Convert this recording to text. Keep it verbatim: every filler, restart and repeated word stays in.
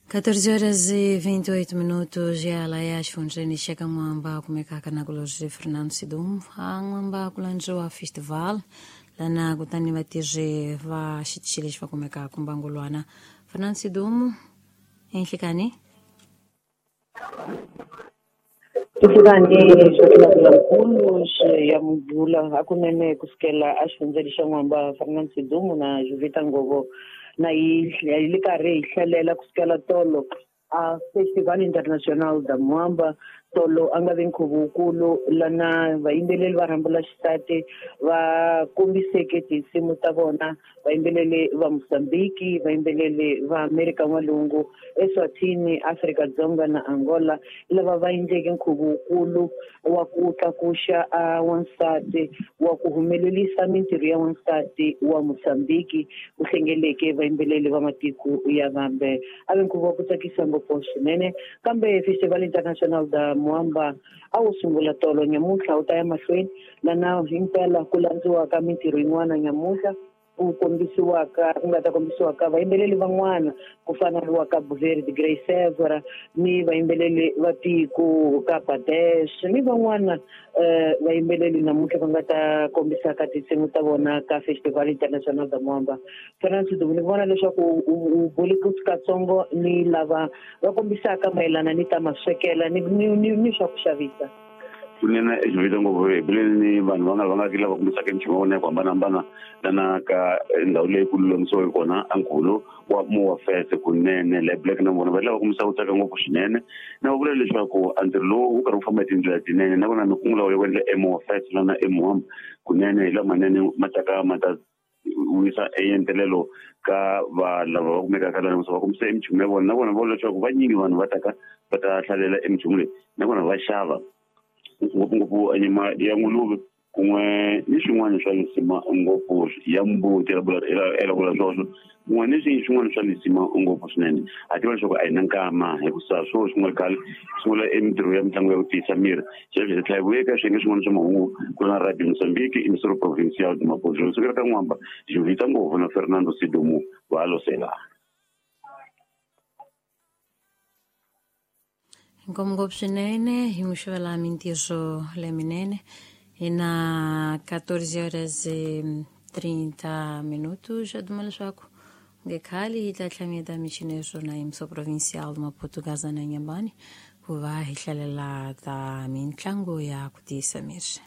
catorze horas e vinte e oito minutos e ela é as funjeni chega mwamba kumekaka na kuloje Fernando Sidum a mwamba kulanjoa festival lana kutani vatije va xitshili va kumeka kumbangulwana Fernando Sidum enhlikani Tifukani swa ya mubula hakunene kusukela a xifundzeni xa N'wamba Fernando Sidumu na Jovita Ngovo na yi li karhi hi hlalela kusukela tolo a Festival International da Mwamba tolo a nga vi nkhuvo wukulu lana vayimbeleri va rhambula xisati va kombiseke tinsimu ta vona, vayimbeleri va Mozambique, vayimbeleri va Amerika N'walungu, Eswatini, Afrika-Dzonga na Angola, lava va endleke nkhuvo wukulu wa ku tlakuxa a wansati wa ku humelerisa mintirho ya wansati wa Mozambique ku hlengeleke vayimbeleri va matiko ya vambe. A vi nkhuvo wa ku tsakisa ngopfu swinene, kambe Festival International da Mwamba a wu sungula tolo nyamuntlha wu ta ya mahlweni lana himpela ku landziwaka mintirho yin'wana nyamuntlha ku kombisiwaka ku nga ta kombisiwaka vayimbeleri van'wana ku fana ni wa Cabo Verde Grey Severa ni vayimbeleri va tiko ka Badesh ni van'wana eh vayimbeleri namuntlha va nga ta kombisaka tinsimu ta vona ka Festival International da Mwamba. Fernando ni vona leswaku u bule katsongo ni lava va kombisaka mayelana ni ta maswekela ni ni ni swa ku xavisa. Kunene Jovita Ngopfu hi bule ni vanhu va nga va nga lava kombisaka nchumu wa vona hi ku hambanahambana lana ka ndhawu leyi ku lulamisiweke kona a nkhuvo wa Mowa Fest kunene le Black na vona va lava kombisa ku tsaka ngopfu swinene na va vula leswaku a ntirho lowu wu karhi wu famba hi tindlela tinene na vona mikungu lawa yo endla eMowa Fest lana eMwamba kunene hi lamanene ma taka ma ta wisa entelelo ka va lava va kumekaka lana va kombisa emichumu ya vona na vona va vula leswaku vanyingi vanhu va taka va ta hlalela emichumu leyi na vona va xava ngopfungopfu nyama ya nguluve kun'we ni swin'wana swa lisima ngopfu ya mbuti ya vula swoswo kun'we ni swin'wana swa lisima ngopfu swinene. A tiva leswaku a hi na nkama hikusa swo sungula khale sungula emintirho ya mitlangu ya ku tiyisa miri xexo hi tlhela hi vuya eka swiyenge swin'wana swa mahungu ku na Radio Mozambique emisoro provincial de Maputo sukela ka N'wamba Jovita Ngopfu na Fernando Sidumu va losela. Inkomo swinene hi n'wi xavela mintirho leminene hi na catorze horas e trinta minutos já duma leswaku nge khale yi ta tlhameta michini ya swona hi muso provincial de Maputo Gaza na Inhambane ku va hi hlalela ta mitlangu ya ku tiyisa miri.